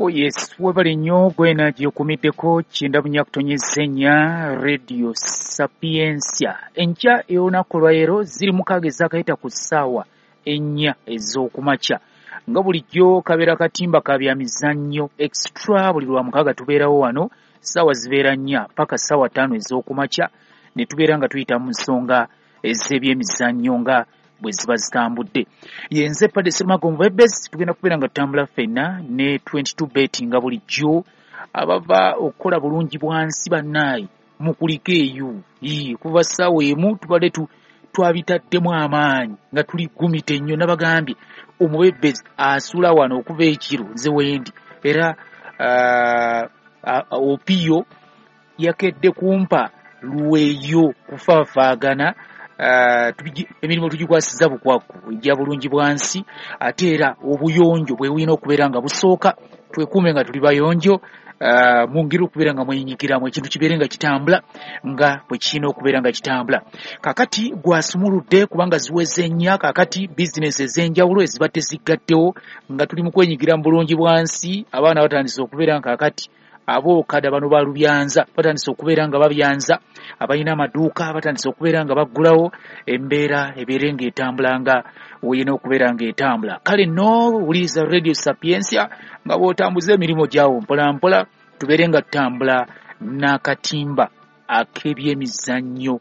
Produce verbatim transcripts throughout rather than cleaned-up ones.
Oh yes, webale nnyo gwena gy'okumiddeko kyenda bunya kutonyeza ennya Radio Sapientia. Enkya ey'olunaku olwaleero ziri mukaaga ezaakayita ku ssaawa ennya ez'okumakya. Nga bulijjo kabeera katimba ka bya mizannyo extra, buli lwa mukaaga tubeerawo wano ssaawa zibeera nnya paka ssaawa ttaano ez'okumakya ne tubeera nga tuyita mu nsonga ez'ebyemizannyo nga bwe ziba zitambudde. Yenze Padde Serumago Mubebezi, tugenda kubeera nga tutambula ffenna ne twenty-two bet nga bulijjo abava okukola bulungi bwansi bannaayi mukuliko eyo. Ii, kuva ssaawa emu tubadde tu twabitaddemu amaanyi nga tuli gumite nnyo. Nabagambye omubebezi asula wano okuva ekiro nze wendi, era uh, Opiyo yakedde kumpa lweyo kufaafaagana. Uh, emirimu tugikwasiza bukwakku ejja bulungi bwansi, ate era obuyonjo bwe bulina okubeera nga busooka, twekuume nga tuli bayonjo, uh, mungeri okubeera nga mwenyigiramu ekintu kibeere nga kitambula nga bwe kirina okubeera nga kitambula. Kaakati gwasumuludde kubanga ziweze nnya, kaakati bizinesi ez'enjawulo ezibadde ziggaddewo nga tuli mu kwenyigira mu bulungi bwansi. Abaana batandise okubeera nga kaakati abookada bano balubyanza batandise okubeera nga babyanza, abalina amaduuka batandise okubeera nga baggulawo, embeera ebeere ng'etambula nga weyina okubeera ng'etambula. Kale nno wuliriza Radio Sapientia nga bw'otambuza emirimu gyawo mpola mpola, tubeere nga tutambula n'akatimba ak'ebyemizannyo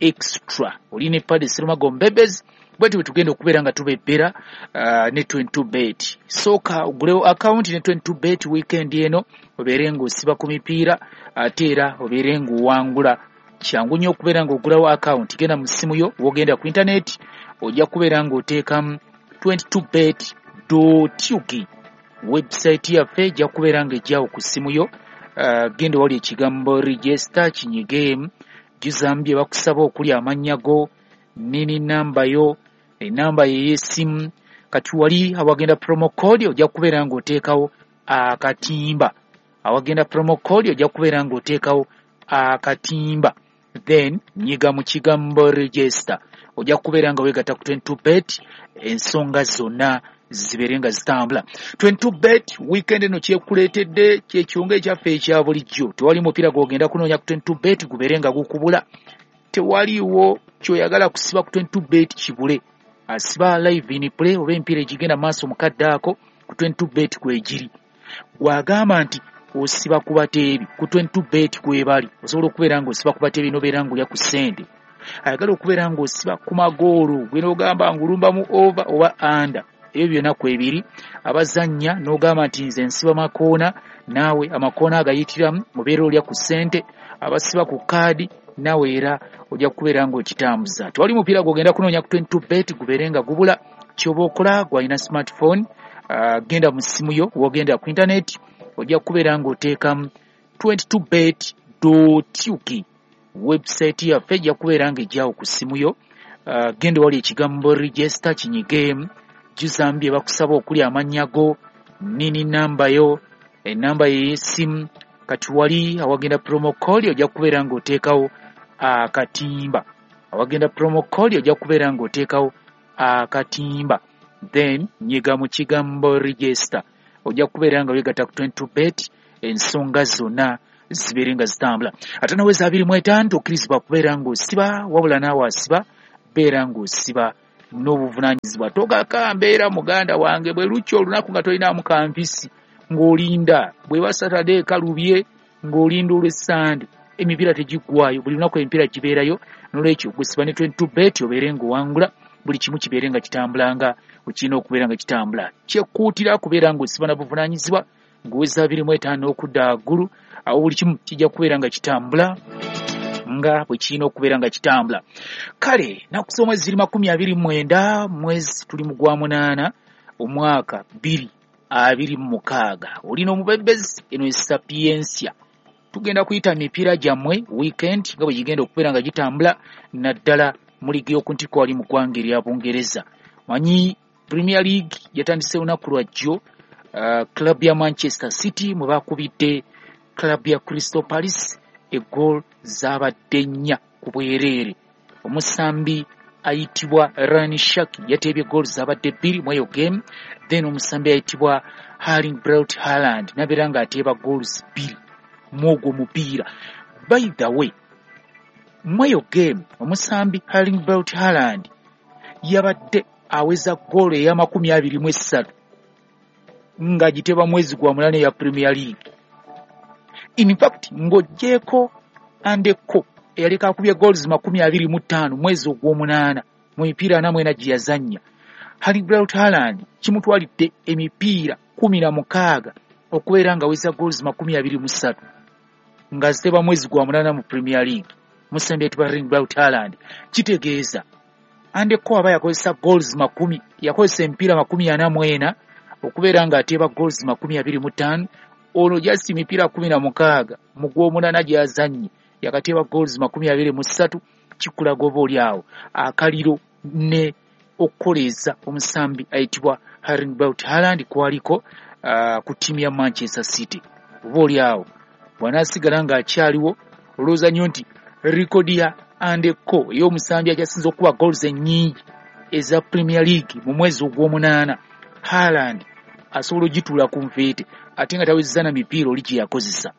extra. Oli ne Padde Serumago Mbebezi, bwetyo bwe tugenda okubeera nga tubebbera uh, ne twenty-two bet. Sooka ogulewo akawunti ne twenty-two bet weekend eno, obeere ng'osiba ku mipiira ate era obeere ng'owangula. Kyangu nnyo okubeera ng'ogulawo akawunti, genda mu ssimu yo, w'ogenda ku intaneti ojja kubeera ng'oteekamu twenty-two bet dot U G. Website yaffe ejja kubeera ng'ejjawo ku ssimu yo. Uh, genda wali ekigambo register kinyigeemu, jjuzaamu bye bakusaba okuli amannya go, nini namba yo, enamba y'essimu. Kati wali awagenda promo code ojja kubeera ng'oteekawo akatimba, awagenda promo code ojja kubeera ng'oteekawo akatimba, then nyiga mu kigambo register, ojja kubeera nga weegatta ku twenty-two bet, ensonga zonna zibeere nga zitambula. twenty-two bet weekend eno kyekuleetedde kyekyonga ekyaffe ekya bulijjo. Tewali mupiira gw'ogenda kunoonya ku twenty-two bet gubeere nga gukubula, tewaliiwo ky'oyagala kusiba ku twenty-two bet kibule. Asiba live in play oba emipiira egigenda maaso mu kadde ako ku twenty-two bet kwegiri. Gw'agamba nti osiba ku bateebi ku twenty-two bet kwebali, osobola okubeera ng'osiba ku bateebi n'obeera ng'olya ku ssente. Ayagala okubeera ng'osiba ku magoolo, gwe n'ogamba ng'olumbamu over oba under, ebyo byonna kwebiri. Abazannya n'ogamba nti nze nsiba makoona, naawe amakoona agayitiramu obeera olya ku ssente. Abasiba ku kaadi naawe era ojja kubeera ng'okitambuza. Tewali mupiira gw'ogenda kunoonya ku twenty-two bet gubeere nga gubula. Ky'oba okola gw'alina smartphone, uh, genda mu ssimu yo, w'ogenda ku intaneti ojja kubeera ng'oteekamu twenty-two bet dot U G. Website yaffe ejja kubeera ng'ejjawo ku ssimu yo. Uh, genda wali ekigambo register kinyigeemu, jjuzaamu bye bakusaba okuli amannya go, nini namba yo, enamba y'essimu. Kati wali awagenda promo code ojja kubeera ng'oteekawo akatimba, awagenda promo code ojja kubeera ng'oteekawo akatimba, then nyiga mu kigambo register, ojja kubeera nga weegatta ku twenty-two bet, ensonga zonna zibeere nga zitambula. Ate naweza abiri mu etaano tokkirizibwa kubeera ng'osiba, wabula naawe asiba beera ng'osiba n'obuvunaanyizibwa. Togaka mbeera muganda wange bwe lukya olunaku nga tolinaamu kampisi ng'olinda, bw'eba Saturday kalubye ng'olinda olw'Essande, emipiira tegiggwaayo, buli lunaku emipiira gibeerayo. N'olwekyo gwesiba ne twenty-two bet obeere ng'owangula, buli kimu kibeere nga kitambula nga okirina okubeera nga kitambula. Kyekuutira kubeera ng'osiba na buvunaanyizibwa, ng'oweza abiri mu etaano okudda waggulu, awo buli kimu kijja kubeera nga kitambula nga bwe kirina okubeera nga kitambula. Kale nnaku z'omwezi ziri makumi abiri mu mwenda, mwezi tuli mu gwa munaana, omwaka bbiri abiri mu mukaaga. Olina omubebezi, eno ye Sapientia. Tugenda kuyita mipiira gyammwe weekend nga bwe gigenda okubeera nga gitambula, naddala mu liigi y'oku ntikko wali mu ggwanga erya Bungereza. Manyi Premier League yatandise lunaku lwa jjo, uh, club ya Manchester City mwe bakubidde club ya Crystal Palace egoal zaabadde nnya ku bwereere. Omusambi ayitibwa Rayan Cherki yateebye goals abadde bbiri mu eyo game, then omusambi ayitibwa Erling Braut Haaland nabeera ng'ateeba goals bbiri mu ogwo mupiira. By the way, mu eyo game omusambi Erling Braut Haaland yabadde aweza goolo ey'amakumi abiri mu essatu ng'agiteeba mwezi gwa munaana eya Premier League. In fact, ng'oggyeeko Andy Cole eyaleka akubye goals makumi abiri mu ttaano mwezi ogw'omunaana mu mipiira ana mu ena gye yazannya, Erling Braut Haaland kimutwalidde emipiira kumi na mukaaga okubeera ng'aweza goals makumi abiri mu ssatu ng'aziteeba mwezi gwa munaana mu Premier League. Musambi ayitibwa Erling Braut Haaland, kitegeeza Andy Cole aba yakozesa goals makumi yakozesa emipiira makumi ana mu ena okubeera ng'ateeba goals makumi abiri mu ttaano. Ono just emipiira kumi na mukaaga mu gw'omunaana gy'azannye yakateeba goals makumi abiri mu ssatu. Kikulaga oba oli awo akaliro ne okukoleeza omusambi ayitibwa Erling Braut Haaland kwaliko uh, ku ttiimu ya Manchester City. Oba oli awo bw'anaasigala ng'akyaliwo, olowooza nnyo nti rekodi ya Andy Cole ey'omusambi akyasinze okuba goals ennyingi eza Premier League mu mwezi ogw'omunaana, Haaland asobola ogituula ku nfeete ate nga tawezezza na mipiira oli gye yakozesa.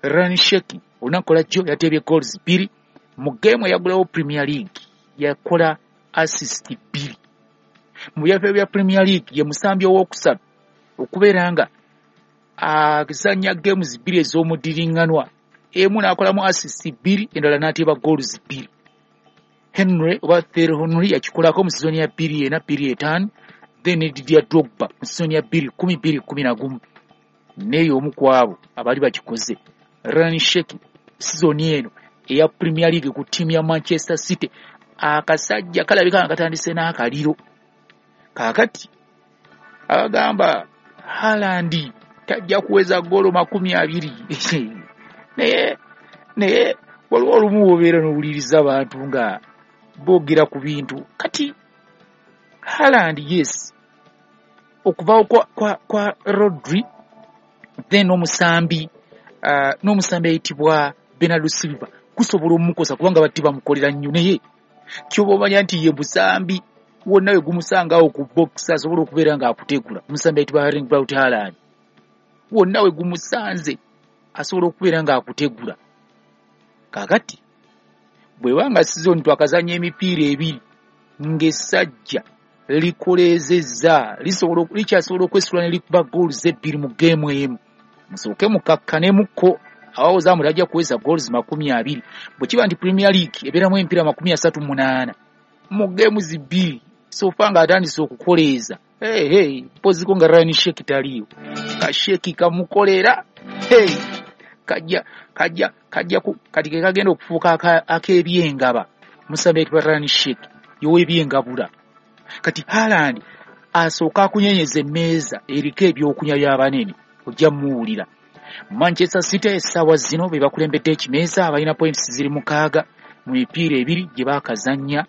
Rayan Cherki olunaku lwajjo yateebye goals bbiri mu geemu eyagulawo Premier League, yakola assist bbiri. Mu byaffe bya Premier League ye musambi owookusatu okubeera nga azannya games bbiri ez'omudiriŋŋanwa, emu n'akolamu assist bbiri, endala n'ateeba goals bbiri. Henry oba Thierry Henry yakikolako mu sizoni ya bbiri ena bbiri etaano, then Didier Drogba mu sizoni ya bbiri kumi bbiri kumi na gumu neeyo omu ku abo abaali bakikoze. Rayan Cherki sizoni eno eya Premier League ku ttiimu ya Manchester City, akasajja kalabika nga katandise n'akaliro. Kaakati abagamba Haaland tajja kuweza ggoolo makumi abiri naye naye waliwo olumu wobeera n'owuliriza abantu nga boogera ku bintu. Kati Haaland, yes, okuvaawo kwa, kwa, kwa Rodri then omusambi uh, n'omusambi ayitibwa Bernardo Silva kusobola omumukosa kubanga batti bamukolera nnyo, naye kyoba omanya nti ye musambi wonna we gumusangawo ku box asobola okubeera ng'akutegula. Omusambi ayitibwa Erling Braut Haaland wonna we gumusanze asobola okubeera ng'akutegula. Kaakati bw'eba sizoni twakazannya emipiira ebiri ng'essajja likoleezezza lisobola likyasobola okwesula ne likuba goals ebbiri mu geemu emu, musooke mukakkanemukko awawoza mbu tajja kuweza goals makumi abiri. Bwe kiba nti Premier League ebeeramu emipiira makumi asatu munaana mu games bbiri so far ng'atandise okukoleeza, hey, hey, mpoziko nga Rayan Cherki taliiwo, ka Cherki kamukolera, hey, kajja kajja kajja ku kati ke kagenda okufuuka ak'ebyengaba. Musambi ayitibwa Rayan Cherki y'owebyengabula. Kati Haaland asooka akunyenyeza emmeeza eriko ebyokunywa by'abanene, ojja muwulira. Manchester City essaawa zino be bakulembedde ekimeeza, abalina points ziri mukaaga mu mipiira ebiri gye baakazannya.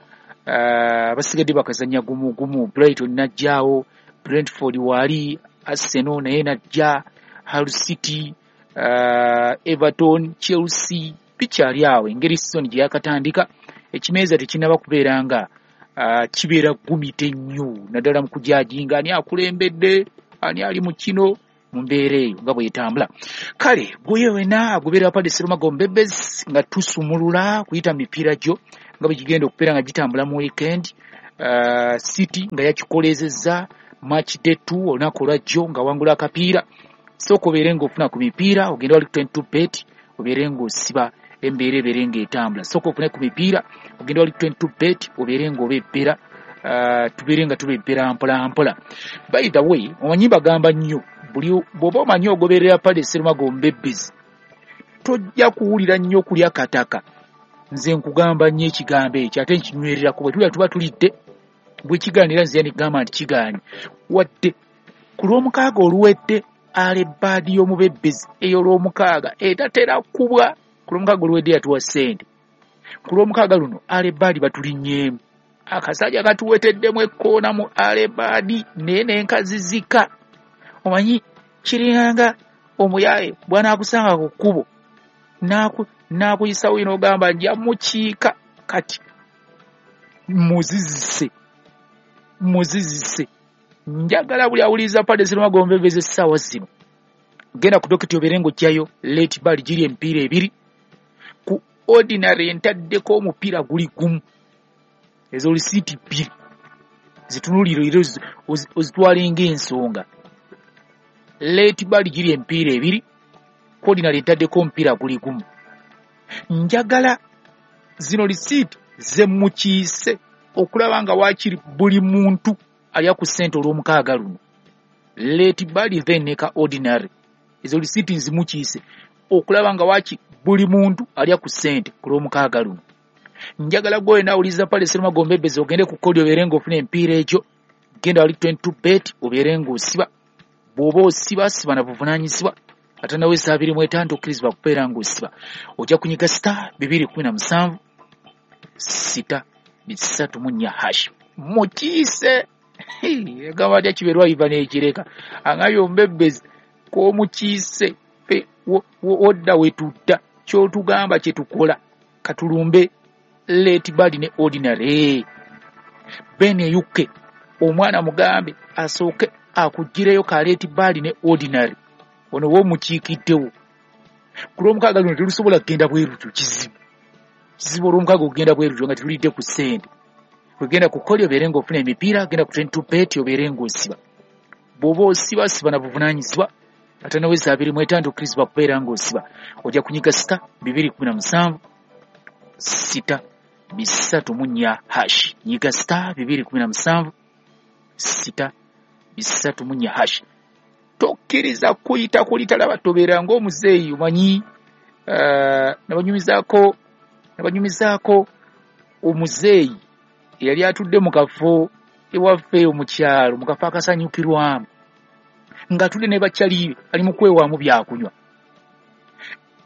uh, basigadde bakazannya gumu gumu. Brighton najjaawo, Brentford waali, Arsenal naye najja, Hull City, uh, Everton, Chelsea bikyali awo. Engeri season gye yakatandika ekimeeza tekinnaba kubeera nga uh, kibeera gumite nnyo, naddala mu kujajinga ani akulembedde ani ali mu kino mu mbeera eyo nga bwetambula. Kale gwe wena agoberera Padde Serumago Mbebezi nga tusumulula kuyita mipiira gyo nga bwe gigenda okubeera nga gitambula mu weekend. uh, City nga yakikoleezezza match day two olunaku olwajjo nga wangula akapiira. Sooka obeere ng'ofuna ku mipiira, ogende wali ku twenty-two bet obeere ng'osiba embeera ebeere ng'etambula. Sooka ofune ku mipiira, ogende wali ku twenty-two bet obeere ng'obebbera, uh, tubeere nga tubebbera mpola mpola. By the way, omanyi bagamba nnyo buli bw'oba omanyi ogoberera Padde Serumago Mbebezi tojja kuwulira nnyo kulya kataka. Nze nkugamba nnyo ekigambo ekyo ate nkinywererako, bwe tulya tuba tulidde, bwe kigaanira nze nigamba nti kigaanye. Wadde ku lw'omukaaga oluwedde alebaadi y'omubebbezi ey'olwomukaaga etatera kubwa, ku lw'omukaaga oluwedde yatuwa ssente, ku lw'omukaaga luno alebaadi batulinnyeemu, akasajja katuweteddemu ekkoona mu alebaadi naye n'enkazizika. Omanyi kiringanga omuyaaye bw'anaakusanga ku kkubo n'akuyisawo ino ogamba nja mukiika. Kati Muzizise, muzizise. Njagala buli awuliriza Padre Sserumagga Omubeebezi essaawa zino, genda ku dokiti obeere ng'oggyayo late bali giri emipiira ebiri. Ku ordinary ntaddeko omupiira guli gumu, ezo lisiiti bbiri zitunuulire era ozitwale ng'ensonga. Late bali giri emipiira ebiri, ku ordinary ntaddeko omupiira guli gumu. Njagala zino lisiiti ze mukiise okulaba nga waakiri buli muntu alya ku ssente olw'omukaaga luno. Late bali then ne ka ordinary, ezo lisiiti nzimukiise okulaba nga waaki buli muntu alya ku ssente ku lw'omukaaga luno. Njagala gwe wenna awuliriza Padre Sserumagga Omubeebezi ogende ku kkoodi obeere ng'ofuna emipiira egyo. Genda wali twenty-two bet obeere ng'osiba. Bw'oba osiba, siba na buvunaanyizibwa. Ate nawe essa abiri mu etaano tokkirizibwa kubeera ng'osiba. Ojja kunyiga star bibiri kumi na musanvu sita bisatu mu nnya hash. Mukiise. Egamba atya Kiberwa Ivan Ekireka angambye Omubeebezi k'omukiise ffe wodda we tudda, ky'otugamba kye tukola. Katulumbe late bali ne ordinary. Ben Eyuke omwana mugambe asooke akuggyireyo ka late bali ne ordinary, ono w'omukiikiddewo. Ku lw'omukaaga luno terusobola kugenda bwerutyo, kizibu kizibu olw'omukaaga okugenda bwerutyo nga tetulidde ku ssente. Ogenda ku kkooli obeere ng'ofuna emipiira, genda ku twenty-two bet obeere ng'osiba. Bw'oba osiba, siba na buvunaanyizibwa. Ate nawe essa abiri mu etaano tokkirizibwa kubeera ng'osiba. Ojja kunyiga sita bibiri kumi na musanvu sita bisatu mu nnya hash. Nyiga sita bibiri kumi na musanvu sita bisatu mu nnya hash. Tokkiriza kuyita kulitalaba, tobeera ng'omuzeeyi omanyi. Uh, nabanyumizaako nabanyumizaako omuzeeyi eyali atudde mu kafo ewaffe mu kyalo, mu kafo akasanyukirwamu, ng'atudde ne bakyali ali mu kwewaamu byakunywa.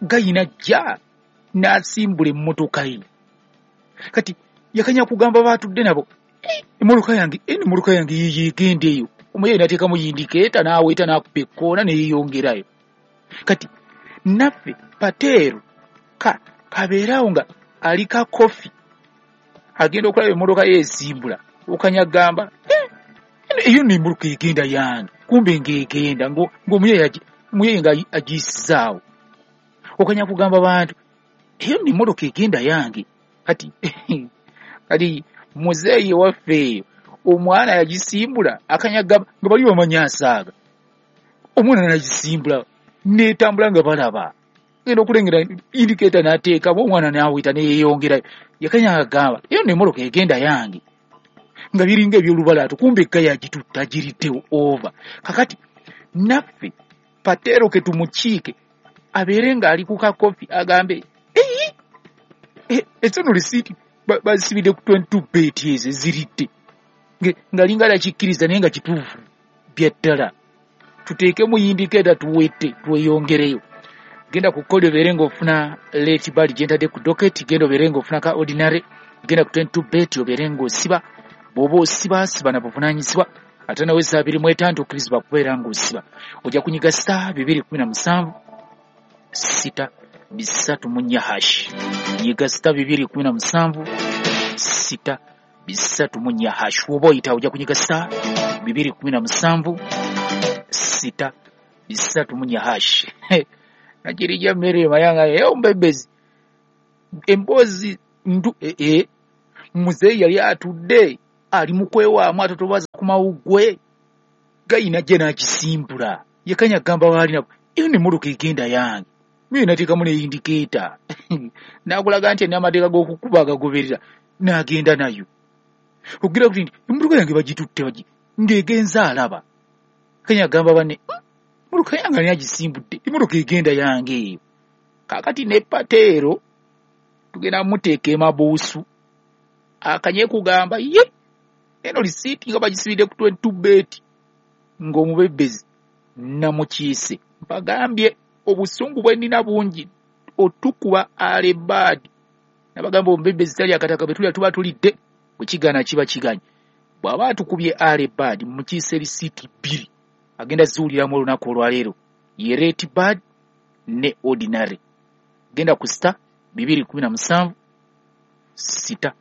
Gayina jja n'asimbula emmotoka ye. Kati yakanya kugamba baatudde nabo, emmotoka yange, emmotoka yange yiiyo egenda eyo. Omuyeyi n'ateekamu yindikeeta n'aweeta n'akuba ekkoona ne yeeyongerayo. Kati naffe Pateero ka kabeerawo nga ali ka kofi, agenda okulaba emmotoka ye esimbula, okanya gamba eyo nno emmotoka egenda yange, kumbe ng'egenda ng'omuyeyi nga agiyisizaawo. Okanya kugamba bantu eyo nno emmotoka egenda yange. Kati kati muzeeyi waffe eyo omwana yagisimbula, akanya gamba nga bali bamanyi asaaga, omwana n'agisimbula n'etambula nga balaba. Genda okulengera indikeeta n'ateekamu omwana n'aweta ne yeeyongerayo. Yakanya agamba eyo nno emmotoka egenda yange, nga biringa eby'olubalaato, kumbe ekka yagitutta agiriddewo ova. Kakati naffe Pateero ke tumukiike abeere ng'ali ku kakofi agambe eyi ezo nno lisiiti bazisibidde ku twenty-two bet ezo eziridde, ng'alinga alakikkiriza naye nga kituufu bya ddala. Tuteekemu yindikeeta tuwette tweyongereyo. Genda ku kkoodi obeere ng'ofuna late bali gye ntadde ku doketi, genda obeere ng'ofuna ka ordinary, genda ku twenty-two bet obeere ng'osiba. Bw'oba osiba, siba na buvunaanyizibwa. Ate nawe essa abiri mu etaano tokkirizibwa kubeera ng'osiba. Ojja kunyiga star bibiri kumi na musanvu sita bisatu mu nnya hash. Nyiga star bibiri kumi na musanvu sita bisatu mu nnya hash. Bw'oba oyita ojja kunyiga star bibiri kumi na musanvu sita bisatu mu nnya hash. Nakirijja mmere mayanga eyo Omubeebezi emboozi ndu ee muzeeyi yali atudde ali mu kwewaamu atotobaza ku mawuggwe, gayina gye n'agisimbula. Yakanya agamba baali nabo eyo nno emmotoka egenda yange, miyo nateekamu ne yindikeeta n'akulaga nti n'amateeka g'okukuba agagoberera n'agenda nayo. Okugira kuti nti emmotoka yange bagitutte bagi ng'egenze alaba. Yakanya agamba banne emmotoka yange ani agisimbudde, emmotoka egenda yange eyo. Kaakati ne Pateero tugenda muteeka emabuusu akanye kugamba ye eno lisiiti nga bagisibidde ku twenty-two bet ng'omubeebezi namukiise. Mbagambye obusungu bwe nnina bungi otukuba alebaadi. Nabagamba omubeebezi tali akataka bwe tulya tuba tulidde, bwe kigaana kiba kiganye. Bw'aba atukubye alebaadi mukiise lisiiti bbiri agenda ziwuliramu olunaku olwaleero, ye late bad ne ordinary. Genda ku star bibiri kumi na musanvu sita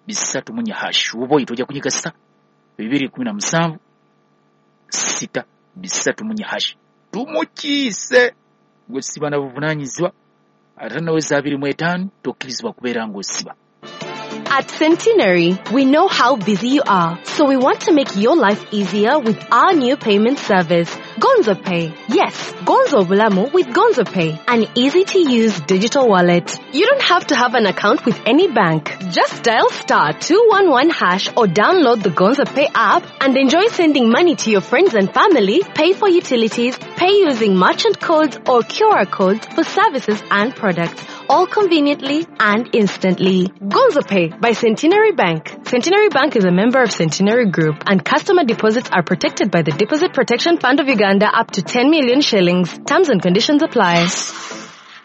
bisatu mu nnya hash. Oba oyita ojja kunyiga star bibiri kumi na musanvu sita bisatu mu nnya hash. Tumukiise gwe siba na buvunaanyizibwa ate naweza abiri mu etaano tokkirizibwa kubeera ng'osiba. At Centenary, we know how busy you are, so we want to make your life easier with our new payment service, Gonzo Pay. Yes, Gonzo Bulamu with Gonzo Pay, an easy-to-use digital wallet. You don't have to have an account with any bank. Just dial star two one one hash or download the Gonzo Pay app and enjoy sending money to your friends and family, pay for utilities, pay using merchant codes or Q R codes for services and products, all conveniently and instantly. Gonzo Pay by Centenary Bank. Centenary Bank is a member of Centenary Group, and customer deposits are protected by the Deposit Protection Fund of Uganda up to ten million shillings. Terms and conditions apply.